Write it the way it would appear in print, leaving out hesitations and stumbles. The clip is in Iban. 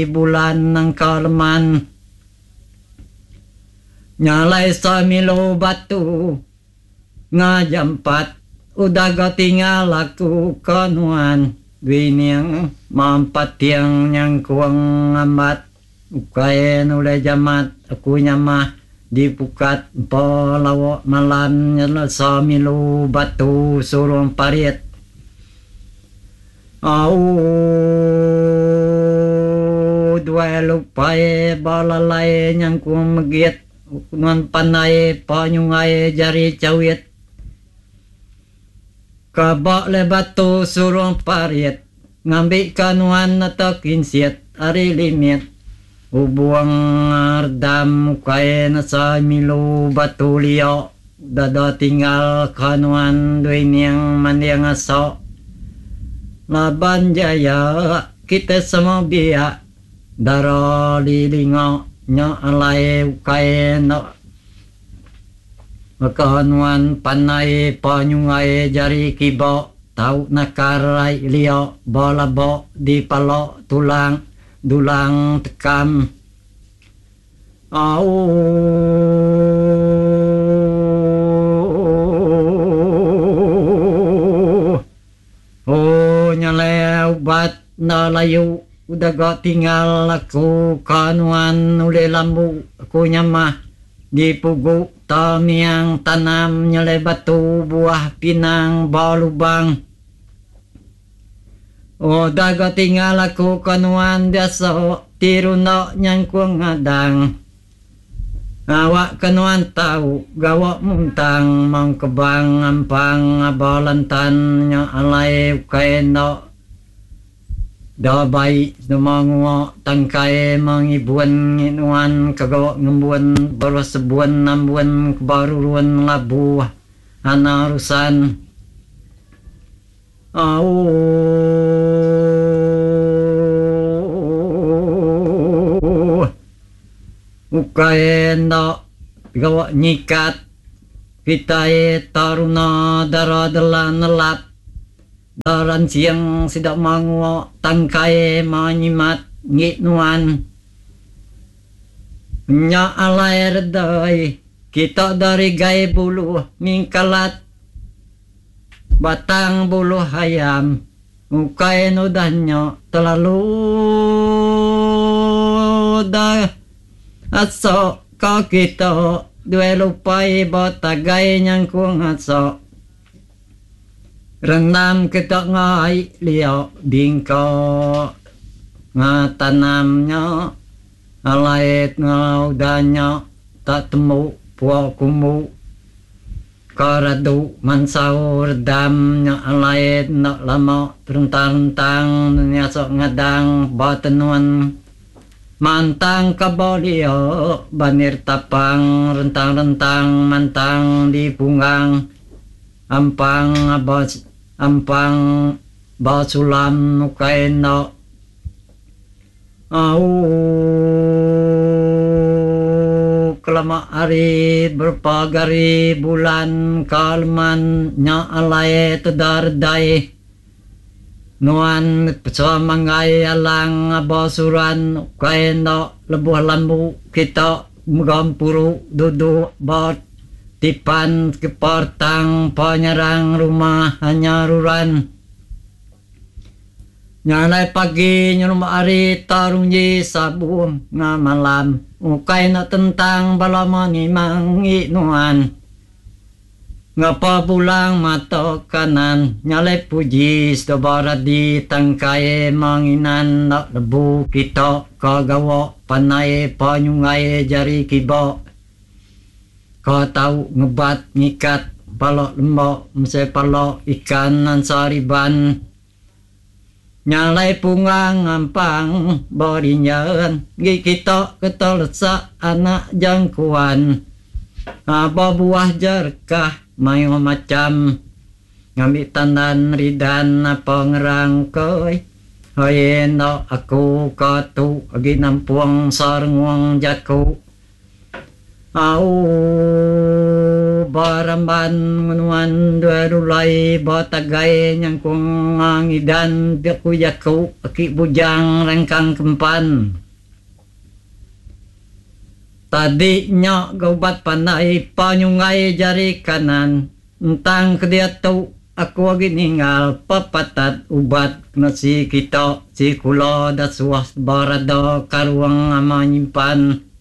Bulan nangka leman. Nya alai semilu batu ngajampat udah ga tinggal aku ke nuan Wining mampat tiang nyangkung ngambat ukai nulih jamat aku nyamah di pukat empa lawa malam nyelesa milu batu surung parit. Auu duai lupai ba lalai nyangkung megit nuan pandai pa nyungai jari chawit ka ba le batu surung parit ngambi ka nuan neta kinsit ari limit ubung redam ukai nesa milu batu lio dada tinggal ka nuan dui ning manding aso laban jaya kitai semua biak dara dilinga nya alai ukai enda baka nuan pandai pa nyungai jari kiba tau nakar ai lio ba laba di pala tulang dulang tekam. Auu. Oh nyalai ubat enda layu udah ga tinggal aku ka nuan ulih lambu aku nyamah di pugu ta miang tanam nyelai batu buah pinang ba lubang. Udah ga tinggal aku ka nuan biasa ti runda nyangkung ngadang. Awak ke nuan tau gawa muntang mong kebang ampang aba lantan nya alai ukai enda da bai nema ngua tangkai mengibun ngi nuan ke gawa ngembun baruh sebun ambun ke ba rurun labuh ana rusan. Auu. Ukai enda gawa nyikat kitai taruna dara dela nelap da ransing sida mangua tangkai ma nyimat ngi nuan. Nya alai redai kita dari gai buluh mingkalat. Batang buluh ayam ukai nudah nya telalu da asok ka kita duai lupai ba tagai nyangkung asok rendam kita ngai lio bingka nga tanam nya alai ngau da nya tak tembu pua kumbu. Ka radu mansau redam nya alai enda lama terentang-rentang nyasok ngadang ba tenun mantang ka ba lio banir tapang rentang-rentang mantang di punggang ampang ba ampang ba sulam ukai enda. Auu kelama hari berpa gari bulan ka leman nya alai teda redai nuan pesa manggai alang aba suran ukai enda lebuh lambu kita mega empuru duduk ba tipan kepa retang pa nyarang rumah anya ruran. Nya alai pagi nyelumba hari tarunji sabung nga malam ukai enda tentang bala menimang ngi nuan. Ngapa bulang mata kanan nya alai puji seduba radi tangkai menginan enda lebu kita ka gawa pandai pa nyunggai jari kiba ka tau ngebat ngikat pala lemba mesai pala ikan ansa riban. Nya alai punggang ngampang berinjan gi kita keta lesak anak jangkuan aba buah jerekah mayuh macham ngambi tandan ridan apa ngerang koi hoi enda aku ka tu agi nampung sarengung jaku. Auu. aku ba ramban ngenuan dua dulai ba tagai nyangkung ngidan pia ku jaku aki bujang rangkang kempan. Tadi nya ga ubat pandai pa nyunggai jari kanan entang ke diatu aku agi ninggal pepatat ubat kena si kita si kula da suah berada karung ama nyimpan.